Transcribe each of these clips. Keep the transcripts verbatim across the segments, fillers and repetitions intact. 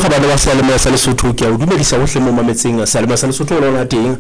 Kgabane wa seyalemoya sa Lesotho, ke a o dumedisa hohle mo mametseng seyalemoya sa Lesotho o lona teng.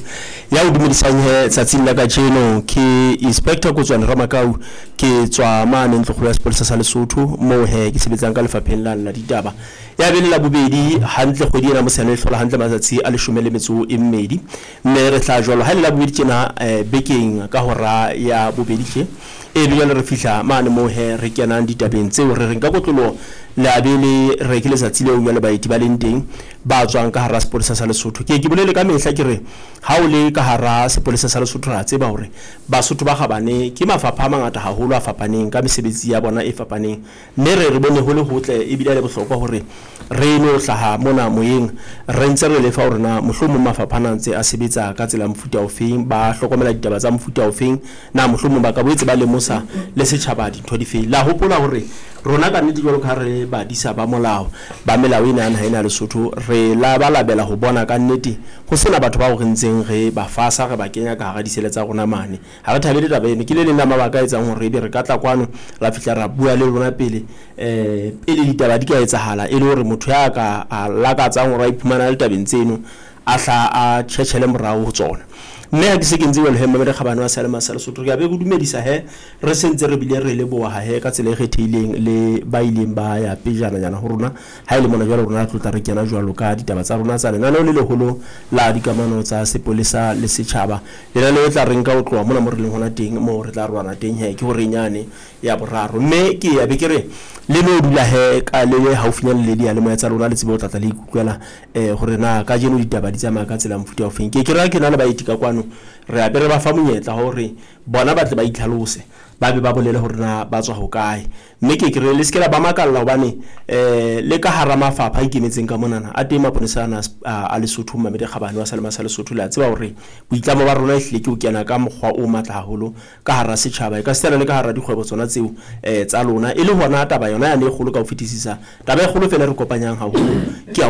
Ya o dumedisang he tsatsing la kajeno ke Inspector Kotswane Ramakau, ke tswa mane ntlokgolo ya sepolesa sa Lesotho moo he ke sebetsang ka lefapheng la la ditaba. Ya bele la bobedi hantle kgwedi ena mosehane e hlola hantle matsatsi a leshome le metso e mmedi, mme re tla jwalo ha e le la bobedi tjena eh, bekeng ka hora ya bobedi tje. E be jwale re fihla mane moo he re kenang ditabeng tseo re reng ka kotloloho le a be le re ke letsatsi leo jwale baeti ba leng teng ba tswang ka hara sepolesa sa Lesotho. Ke ke bolele ka mehla ke re ha o le ka hara sepolesa sa Lesotho ra tseba hore Basotho ba kgabane ke mafapha a mangata haholo a fapaneng ka mesebetsi ya bona e fapaneng, mme re re bone ho le hotle ebile le bohlokwa hore re no hlaha mona moyeng re ntse re lefa hore na mohlomong mafapha ana a ntse a sebetsa ka tsela ya mofuta ofeng, ba hlokomela ditaba tsa mofuta ofeng, na mohlomong ba ka boetse ba lemosa le setjhaba dintho difeng. La hopola hore rona ka nnete jwalo ka ha re badisa ba molao ba melao ena ya naha ena ya Lesotho, re labalabela ho bona ka nnete ho sena batho bao re ntseng re ba fasa re ba kenya ka hara disele tsa rona mane. Ha re thabele taba eno, ke le leng la mabaka a etsang hore ebe re ka tla kwano ra fihla ra bua le lona pele eh pele ditaba di ka etsahala, e le hore motho ya ka a lakatsang hore a iphumana a le tabeng tseno a hla a tjhetjhele morao ho tsona. Mme ha ke se ke ntse jwalo he mamedi kgabane wa seyalemoya sa Lesotho, re a be re dumedisa he re sentse re bile re leboha he ka tsela e kgethehileng le ba ileng ba ya pejananyana ho rona. Ha e le mona jwale rona re tlotla re kena jwalo ka ditaba tsa rona tsa lenaneo le leholo la dikamano tsa sepolesa le setjhaba. Lenaneo e tla re nka ho tloha mona mo re leng hona teng, moo re tla roana teng he ke horeng yane ya boraro. Mme ke ya be ke re le no dula he ka le le haufinyane le diyalemoya tsa lona, le tsebe ho tlatla le ikutlwela eh hore na kajeno ditaba di tsamaya ka tsela ya mofuta ofeng. Ke ke ra ke na le baeti ka kwano, re a be re ba fa monyetla hore bona ba tle ba itlhalose, ba be ba bolele hore na ba tswa hokae. Mme ke ke re le se ke la ba makalla hobane eh le ka hara mafapha a ikemetseng ka monana a teng maponesa ana a a Lesotho. Mamedi Kgabane wa seyalemoya sa Lesotho, le a tseba hore boitlamo ba rona ehlile ke ho kena ka mokgwa o matla haholo ka hara setjhaba, e ka sitana le ka hara dikgwebo tsona tseo eh tsa lona, e le hona taba yona yane e kgolo ka ho fetisisa. Taba e kgolo fela e re kopanyang haholo ke ya